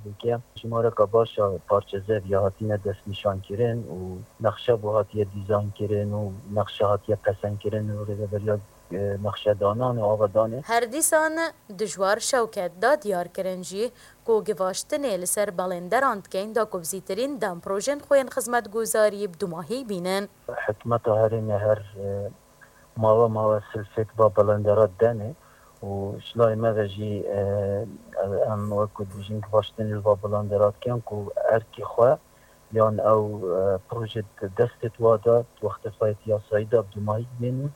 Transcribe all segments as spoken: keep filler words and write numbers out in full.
Veke jimareka baş a parçe zevî ya hatine destnîşankirin û nexşe bo hatiye dîzaynkirin û nexşe hatiye pesendkirin û rêveberiya, e, nexşedanan û avadanê. Her dîsan Dijwar Şewket da diyarkirin jî ku givaştinê li ser belenderan dikeyn da ku bi zîtirîn dem projên xwe yên xizmetguzarî bi dumahî bînin. Hikûmeta herêmê her, e, mawe mawe silfêt va belenderat denê û ji layê me ve jî, e, em wekî dibêjin givaştinê li va belenderat ken ku erkê xwe yan ew, e, proje di destê wa de, di wextê xwe yê yasayî de bi dumahî bînin,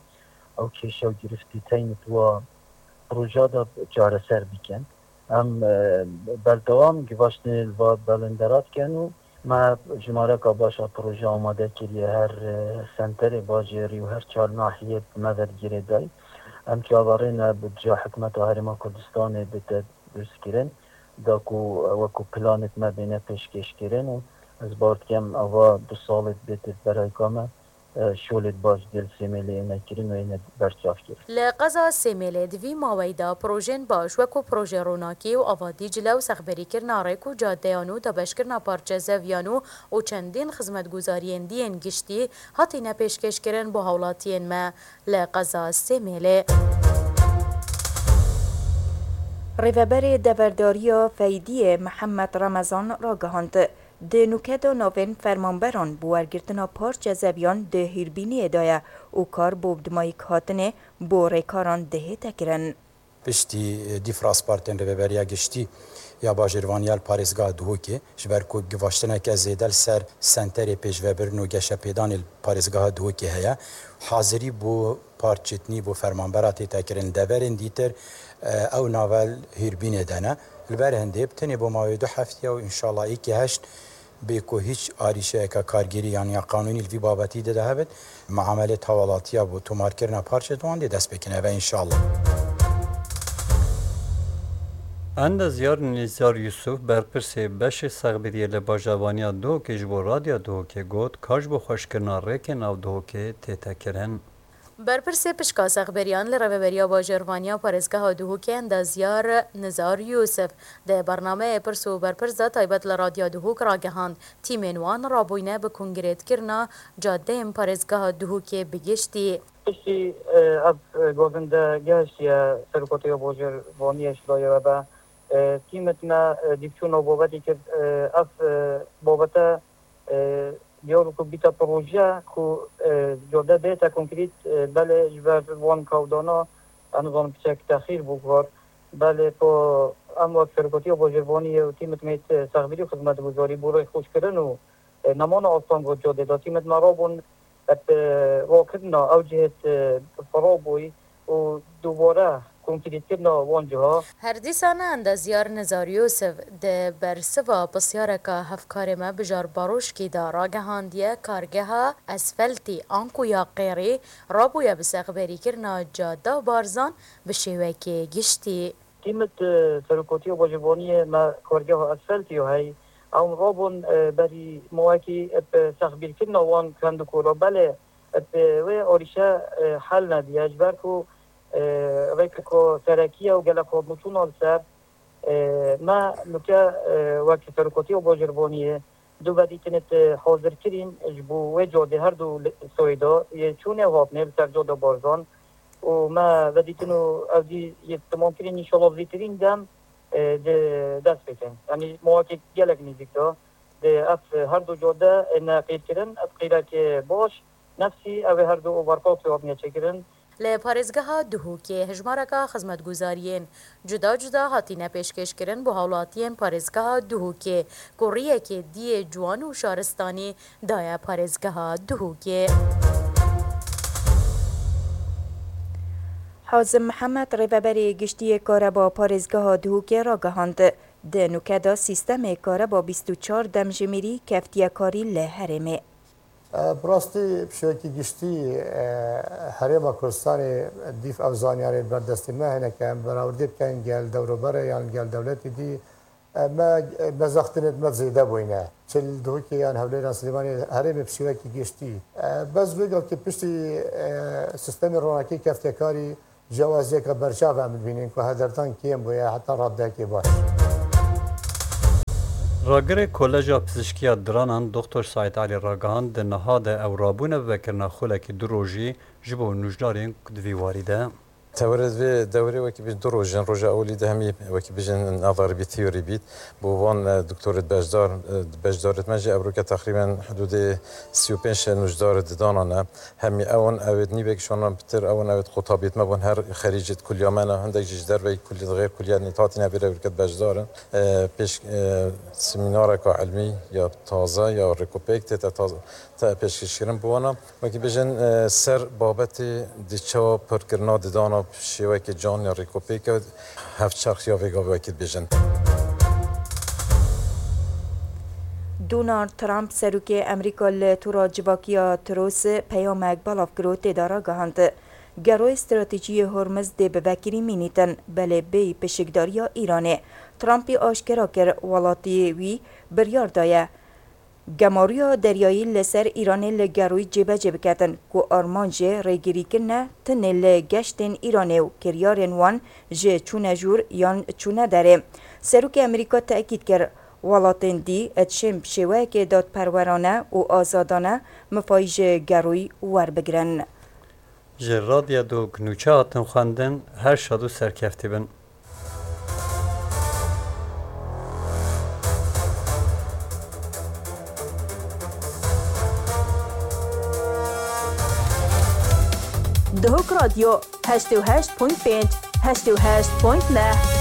ew kêşe û girîftî teynî di wa proja de çareser bikin. Em, e, berdewam givaştinê li va belenderat ken û me jimareka baş a proje amade kiriye her, e, senterê bajêrî û her çar nahiyê me ve girêdayî. Em çaverê ne bi dija hikûmeta Herêma Kurdistanê bête durstkirin, da ku wekî planê me bêne pêşkêşkirin û ez bawer dikim ava du salê bête berayka me, e, şolê baş dê li Sêmêlê êne kirin û êne berçavkirin. Li qeza Sêmêlê di vî maweyî de projên baş wekû projê ronakî û ava Dîcle û sexberîkirina rêk û cadeyan û dabeşkirina parçe zeviyan û, û çendîn xizmetguzariyên dî yên giştî hatine pêşkêşkirin bo hawlatiyên me li qeza Sêmêlê. Rêveberê Deverdariya Feydiyê Mihemed Remezan ragihand, di nûke de navên fermanberan bi wergirtina parçe zeviyan di hîrbîniyê de ye û kar bo bi dimayîk hatinê bo rêkaran dihête kirin. Piştî, e, dîf raspartên Rêveberiya Giştî ya Bajêrvaniya li parêzgeha Duhokê, ji ber ku givaştineke zêde li ser senterê pêşvebirin û geşepêdanê li parêzgeha Duhokê heye, hazirî bo parçitnî bo fermanbera tête kirin. Li deverên dîtir, e, ew nave li hîrbînê de ne. Li ber hindê bi tenê bo mawê du heftiya û înşallah êkê heşt bê ku hîç arîşeyeke kargêrî yan ya qanûnî li vî babetî de de hebit, muamelê tawalatiya bo tomarkirina parçe di wan dê dest pê kin. Eve înşallah. Endezyar Nizar Yusuf, berpirsê beşê sexbiriyê li Bajêrvaniya Duhokê ji bo Radya Duhokê got, ka ji bo xweşkirina rêkê nav Duhokê tête kirin. Berpirsê pişka sexberiyan li Rêveberiya Bajêrvaniya Parêzgeha Duhokê Endezyar Nizar Yusuf di bernameyê Pirs û Berpirs de taybet li Radya Duhok ragihand, tîmên wan rabûyne bi konkretkirina cadeyên parêzgeha Duhokê bi giştî. Piştî, e, ev, e, govinde gehiştiye Serokatiya Bajêrvaniyê ji dayê ve be, e, tîmit me, e, dîvçûna babetî kir, e, ev, e, babete, e, diyar ku bîte proje ku, e, cade bête konkrît, e, belê ji ber van kawdana, ez nizanim piçek texîr bû kar. Belê ku em wek Serokatiya Bajêrvaniyê û tîmit me yê sexbirî û xizmetguzarî bo rêxweşkirin û, e, nemana astanga cadê de tîmit me rabûn, e, rakirina ew cihê, e, xirab bûyî û dubare konkrîtkirina wan ciha. Her dîsan Endezyar Nizar Yusuf di bersiva pisyareka hevkarê me Bijar Baroşkî de ragihandiye kargeha esfeltî anku ya qêrî rabûye bi sexberîkirina cada Barzan bi şêwekê giştî. Tîmit, e, Serokatiya Bajêrvaniyê me kargeha esfeltî ya hey, ew rabûn, e, berî mawekî, e, bi sexbîrkirina wan kend û kola belê, e, bi wê arîşe, e, hel nediye, ji ber ku, e, rêkeka serekî ye û gelek hatnûçûna li ser, e, me nûke, e, wek Serokatiya Bajêrvaniyê du vedîtinê hazir kirîn ji bo wê cadê her du li-, soyê de yê çûnê û hatinê li ser cada Barzan û me vedîtin û ew dî yê temam kirîn, înşallah zîtirîn dem, e, di dest pê kin. Yanî mawekê gelek nêzîk de di ev her du cade êne qîrkirin, ev qîrekê baş, nefsî ew ê her du oberkafê hatine çêkirin. Li parêzgeha Duhokê hejmareka xizmetguzariyên cuda cuda hatine pêşkêşkirin bo hawlatiyên parêzgeha Duhokê, ku riyekê diyê ciwan û şaristanî daye parêzgeha Duhokê. Hazim Mihemed, rêveberê giştî yê Kareba parêzgeha Duhokê ragihand, di nûke de sîstemê Kareba bîst û çar demjimêrî keftiye karî li herêmê. E, bi rastî piştiyekî giştî, e, Herêma Kurdistanê dîf ev zanyarê berdestî me hene ke em berawerdê bikin gel dewroberê yan gel dewletî dî, e, me, e, mezextinê me zêde bûyne. Çi li Duhokê yan Hewlêran Silêmaniyê herêmê piştiyekî giştî. E, bes vê gavkê piştî, e, sîstemê ronakî keftiye karî, Cewaziyeke berçav em dibînin ku hederdan kêm bûye heta radeyekê baş. Ragirê Koleja Pizîşkiya Diranan Doktor Saîd Elî ragihand, di niha de ew rabûne bi vekirina xulekî du rojî ji bo nûjdarên ku di vî warî de. Tewerê vê dewrê wekî bî du roj in. Roja ewilî de hemî wekî bijin nazarî bî, teorî bît. Bo van, e, doktorêt beşdar, e, beşdarêt me jî evroke teqrîben hudûdê sî û pênc nûjdar di dana ne. Hemî ew in, ewêt nîvek şanan pitir, ew in, ewêt qutabît me bûn, her xerîcêt kulya me ne, hindek jî ji derveyî kulî, di xêr kulya nît hatine vê re wêrket beşdar in. E, pêş, e, semînareka ilmî ya taze ya rêkopêk tête taze, te pêşkêşkirin bi wana. Wekî bêjin, e, ser babetê di çawa pirkirina didana bi şêwekê can ya rêkopêk e, hevçerx ya vê gavê wekî dibêjin. Donald Trump, serokê Amerîka, li tora civakiya Truth peyamek belav kir û tê de ragihand, Geroyê stratejî yê Hormuz dê bi vekirî mînîtin, belê bêyî pişikdariya Îranê. Trumpî aşkera kir, welatiyê wî biryar daye gemariya deryayî li ser Îranê li Geroyî cêbecê biketin, ku armanc jê rêgirîkirin e tinê li geştên Îranê û kiryarên wan ji çûne jûr yan çûne derê. Serokê Amerîka tekîd kir, welatên dî dişên bi şêweyekê dadperwerane û azadane mifayî ji Geroyî werbigirin. Ji Radyo Dok nûçe hatin xwendin, her şad û serkeftî bin. Dihok Radyo heştê û heşt point pênc, heştê û heşt point neh.